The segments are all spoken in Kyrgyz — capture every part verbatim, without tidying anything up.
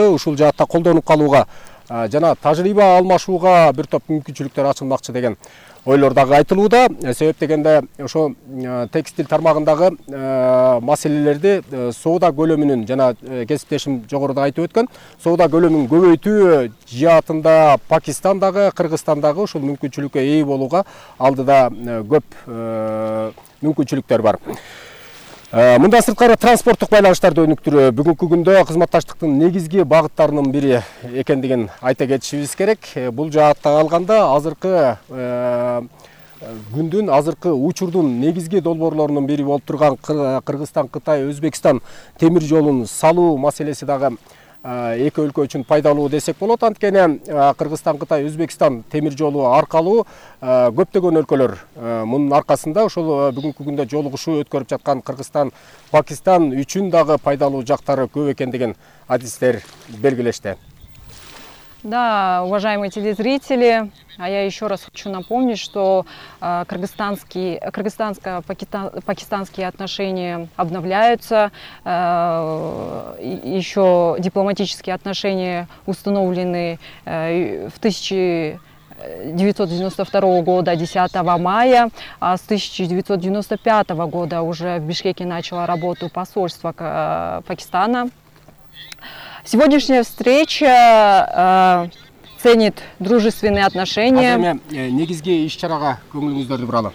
ушул жаатта колдонуп калууга жана тажрыйба алмашууга бир топ мүмкүнчүлүктөр ачылмакчы деген ойлор дагы айтылууда. Себеп дегенде ошо текстиль тармагындагы маселелерди соода көлөмүнүн жана кесиптешим жогоруда айтып өткөн соода көлөмүн көбөйтүү жаатында Пакистандагы, Кыргызстандагы ушул мүмкүнчүлүккө ээ болууга алдыда көп мүмкүнчүлүктөр бар. Мындан сырткары транспорттук байланыштарды өнүктүрүү бүгүнкү күндө кызматташтыктын негизги багыттарынын бири экендигин айта кетишибиз керек. Бул жаатта алганда азыркы күндүн, азыркы учурдун негизги долбоорлорунун бири болуп турган Кыргызстан, Кытай, Өзбекстан темир жолун салуу маселеси дагы эки өлкө үчүн пайдалуу десек болот. Анткени Кыргызстан, Кытай, Өзбекстан темир жолу аркалуу көптөгөн өлкөлөр мунун аркасында ошол бүгүнкү күндө жолугушуу өткөрүп жаткан Кыргызстан, Пакистан үчүн дагы пайдалуу жактары көп экендигин адистер белгилешти. Да, уважаемые телезрители, а я еще раз хочу напомнить, что э, кыргызстанские, кыргызстанско-пакистанские отношения обновляются, э, еще дипломатические отношения установлены э, в тысяча девятьсот девяносто второго года, десятого мая, а с тысяча девятьсот девяносто пятого года уже в Бишкеке начало работу посольство э, Пакистана. Сегодняшняя встреча э, ценит дружественные отношения. Негизги иш-чарага көңүлүңүздөрдү буралы.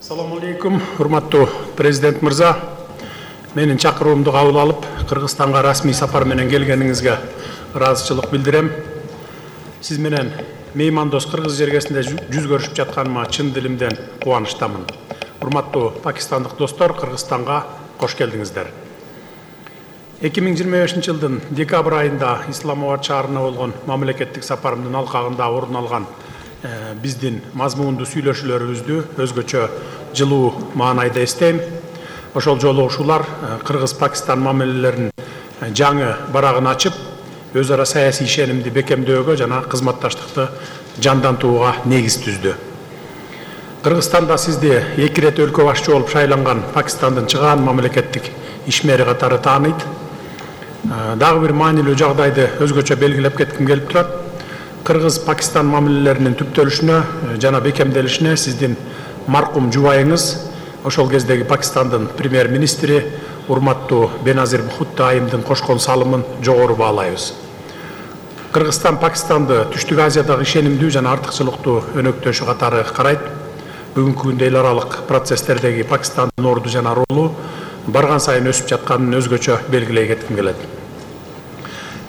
Assalamu alaikum, урматтуу президент мырза. Менин чакыруумду кабыл алып, Кыргызстанга расмий сапар менен келгениңизге ыраазычылык билдирем. Сиз менен меймандос кыргыз жергесинде жүз көрүшүп жатканыма чын дилимден кубанычтамын. Урматтуу пакистандык достор, Кыргызстанга кош келдиңиздер. эки миң жыйырма бешинчи жылдын декабрь айында Исламабад шаарына болгон мамлекеттик сапарымдын алкагында орун алган биздин мазмундуу сүйлөшүүлөрүбүздү өзгөчө жылуу маанайда эстейм. Ошол жолугушуулар Кыргыз-Пакистан мамилелеринин жаңы барагын ачып, өз ара саясий ишенимди бекемдөөгө жана кызматташтыкты жандантууга негиз түздү. Кыргызстанда сизди эки ирет өлкө башчы болуп шайланган Пакистандын чыгаан мамлекеттик ишмери катары тааныйт. Дагы бир маанилүү жагдайды өзгөчө белгилеп кетким келип турат. Кыргыз-Пакистан мамилелеринин түптөлүшүнө жана бекемделишине сиздин маркум жубайыңыз, ошол кездеги Пакистандын премьер-министри урматтуу Беназир Бхутто айымдын кошкон салымын жогору баалайбыз. Кыргызстан Пакистанды Түштүк Азиядагы ишенимдүү жана артыкчылыктуу өнөктөшү катары карайт. Бүгүнкү күндө эл аралык процесстердеги Пакистандын орду жана ролу барган сайын өсүп жатканын өзгөчө белгилей кетким келет.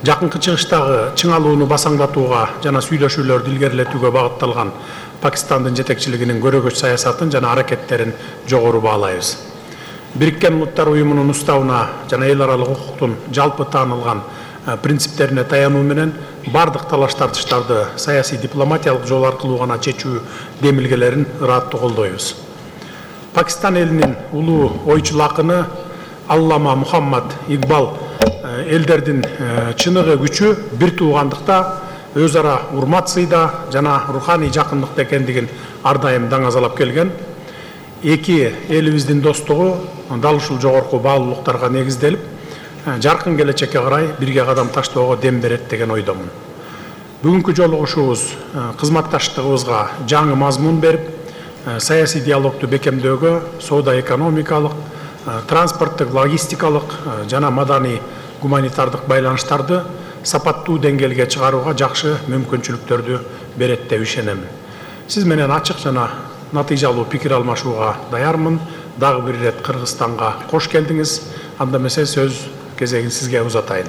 Жакынкы чыгыштагы чыңалууну басаңдатууга жана сүйлөшүүлөрдү илгерилетүүгө багытталган Пакистандын жетекчилигинин көрөгөч саясатын жана аракеттерин жогору баалайбыз. Бириккен Улуттар уюмунун уставына жана эл аралык укуктун жалпы таанылган принциптерине таянуу менен бардык талаш тартыштарды саясий дипломатиялык жол аркылуу гана чечүү демилгелерин ырааттуу колдойбуз. Пакистан элинин улуу ойчул акыны Аллама Мухаммад Игбал элдердин чыныгы күчү бир туугандыкта, өз ара урмат сыйда жана руханий жакындыкта экендигин ар дайым даңазалап келген. Эки элибиздин достугу дал ушул жогорку баалуулуктарга негизделип, жаркын келечекке карай бирге кадам таштоого дем берет деген ойдомун. Бүгүнкү жолугушуубуз кызматташтыгыбызга жаңы мазмун берип, саясий диалогду бекемдөөгө, соода экономикалык, транспорттук, логистикалык жана маданий гуманитардык байланыштарды сапаттуу деңгээлге чыгарууга жакшы мүмкүнчүлүктөрдү берет деп ишенем. Сиз менен ачык жана натыйжалуу пикир алмашууга даярмын. Дагы бир ирет Кыргызстанга кош келдиңиз. Анда эмесе сөз кезегин сизге узатайын.